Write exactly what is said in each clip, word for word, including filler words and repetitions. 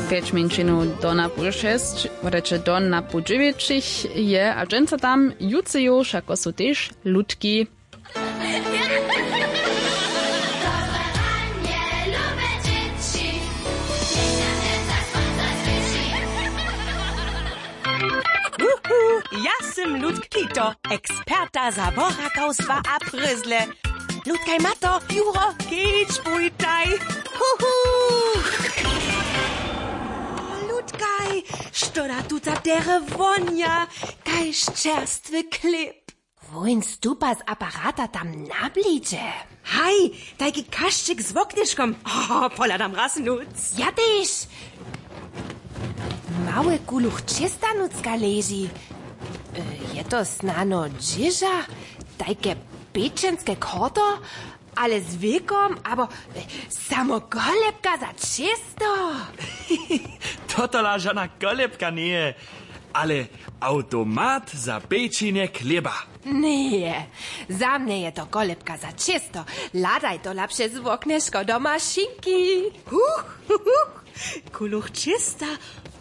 Pjeć mjeńšinow do na pół šesć, wodaće do na pół dźewjećich je a dźensa tam jutře jo wšako su tež ludki. Wuhu, ja sym Ludk Kito, eksperta za worakawstwa a prězle. Ludkaj Mato, Juro, kedź bójtaj. Huhu. Ludkaj, što da tuta derje wonja, kaž čerstwy chlěb. Wón stupa z aparata tam na blidźe. Haj, tajki kašćik z woknješkom. Oh, pohladam raz nuc. Ja tež. Małe kuluch čěsta nucka leži. E, je to snano dźěža? Tajke pěčenske korto? Ale z wěkom abo e, samo kolebka za čěsto? Totola žana kolebka njeje, ale awtomat za pečenje chlěba. Njeje, za mnje je to kolebka za čěsto. Hladaj tola přez woknješko do mašinki. Huch, huch, huch. Kuluch čěsta,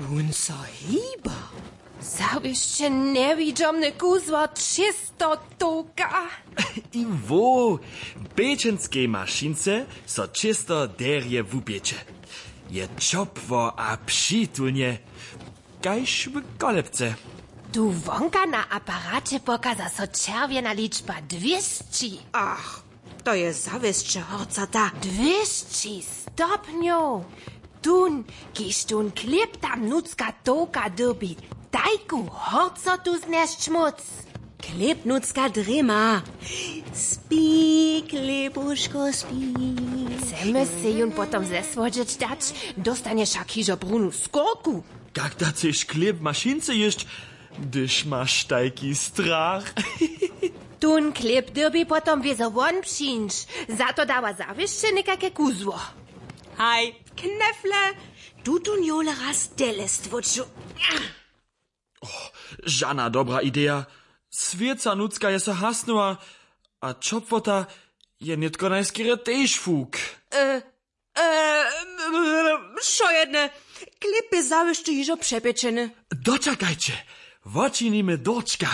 wón so hiba. Zawěsće njewidźomne kuzło čěstotowka. I wo, w pečenskej mašince so čěsto derje wupječe. Je ćopło a přitulnje, kaž w kolebce. Tu wonka na aparaće pokaza so čerwjena ličba dwěsći. Ach, to je zawěsće horcota. Dwěsći stopnjow. Tón, kiž tón chlěb tam nutřka tołka dyrbi, tajku horcotu znjesć móc. Chlěb nutřka drěma. Spi, chlěbuško, spi. Chcemy sej jón potom zesłodźeć dać, dóstanješ wšak hižo brunu skórku. Kak da chceš chlěb w mašince jěsć, hdyž maš tajki strach? Tón chlěb dyrbi potom wězo won přińć. Za to dawa zawěsće někake kuzło. Haj, knefle, tutón jowle raz tele stwóču. Žana dobra ideja. Swěca nutřka je so hasnyła, a ćopłota je nětko najskerje tež fuk. E, e, wšojedne, chlěb je zawěsće hižo přepječeny. Dočakajće, wočinimy dórčka.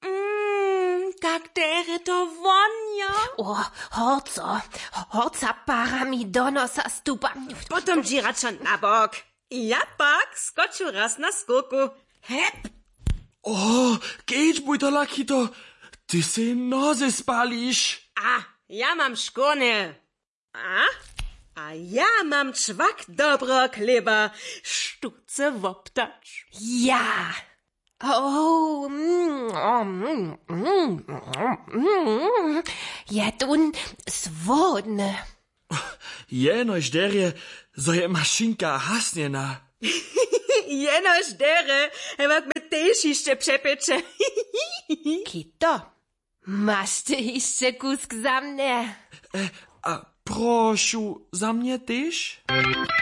Mm, kak derje to wonja. O, horco, horca parami do nosa stupa. Potom dźi radšo na bok. Ja pak skoču raz na skórku. Hep. O, kedźbuj to, Lakito, ty sej noze spališ. A, ja mam škórnje. A, a ja mam čwak dobreho chlěba, štó chce woptać. Ja. O, mm, mm, mm, mm, je tón słodny. Jenož derje, zo je mašinka hasnjena. Jenož derje, hewak my tež hišće přepječe. Kito, maš ty hišće kusk za mnje? E, a prošu, za mnje tež?